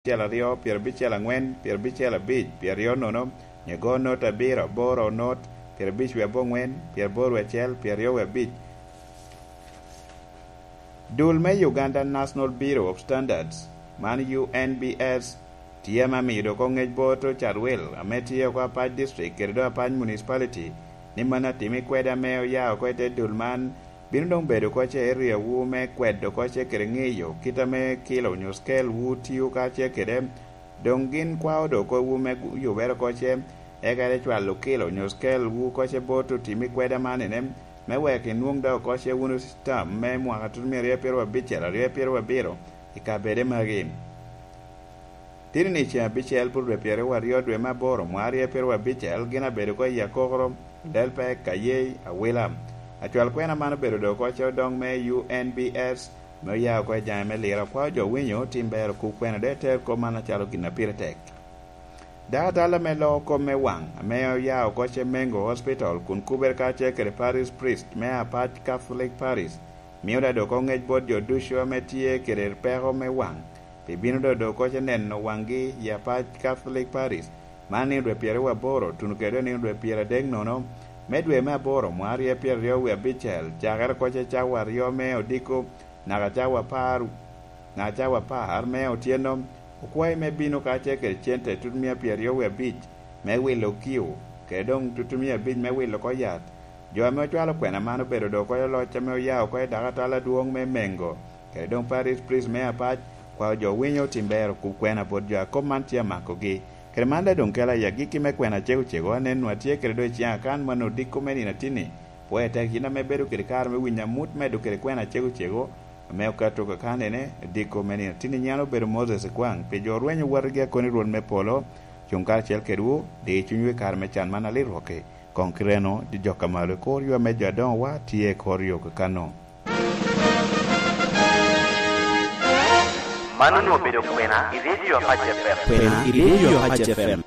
Abicel aryo, pyerabicel angwen, pyerabicel abic, pyeraryo nono, nyo go not abiro, aboro not, pyerabic wiye abongwen, pyeraboro wiye acel, pyeraryo wiye abic. Dul me Uganda National Bureau of Standards, man UNBS, tye ma miyo doko ngec bot Carwil ame tye oko Apac District kede dong Apac Municipality ni mano atimi kwede ame oya oko ite dul man Bino dong bedo koce area wu me kwedo koce kede ngeyo kita me kilo nyo scale wu tiyo kace kede. Dong gin kwao do kor wu me yubere koce eka ere cwalo kilo nyo scale wu koce bot otimi kweda man ene me wek inwong dok koce wunu term me mwaka tutumia aryo pyerabicel aryo pyerabiro i kabede magi. Tini ni ceng abicel pud dwe pyeraryo dwe me aboro mwaka aryo pyerabicel gin abedo ko i akokoro, Delpek, Kayei, Awila. Acwal kwena man obedo dong koce odong me UNBS me oya oko i jange me lira kwao jo winyo tim bero kub kwena dong eter kop man acalo gin na pire tek. Dakatala me loko kop me wang ame oya oko ce Mengo Hospital kun kubere kacel kede Parish Priest me Apac Catholic Parish miyo dong doko ngec bot jo ducu ame tye kede peko me wang Pi bino dodo koce neno wanggi i Apac Catholic Parish man nino dwe pyeraryo tuno kede nino dwe pyeradek nono me dwe me aboro mwaka aryo pyeraryo wiye abicel cakere koce cawa aryo me odiko naka cawa apar naka cawa apar me otyeno okwayi me bino kace kede cente tutumiya pyeraryo wiye abic me wilo kiu kede dong tutumiya abic me wilo ko yat Jo ame ocwalo kwena man obedo do koyo loc ame oya oko i dakatala dwong me Mengo Kede dong Parish Priest me Apac kwayo jo winyo tim ber okub kwena bot jo akop man tye amakogi. Kede man da dong kela i agikki me kwena cego cego anen nwa tye kede dong i ceng akan ma nongo odiko me nino atini. Pwoye tek in ame bedo kede kare me winyo amut medo kede kwena cego cego ame okato kakan ene odiko me nino atini nyen obedo Moses Ekwang pi jo orwenyo watigi akoni Rwot me polo cung karacel kedwu di cwinywu i kare me can man alirwoki kong ki reno di jok kamalo i kor ywa me jo adongo wa tye i kor yo kakano. Mano nongo obedo kwena i redio Apac FM. Kwena i redio Apac FM.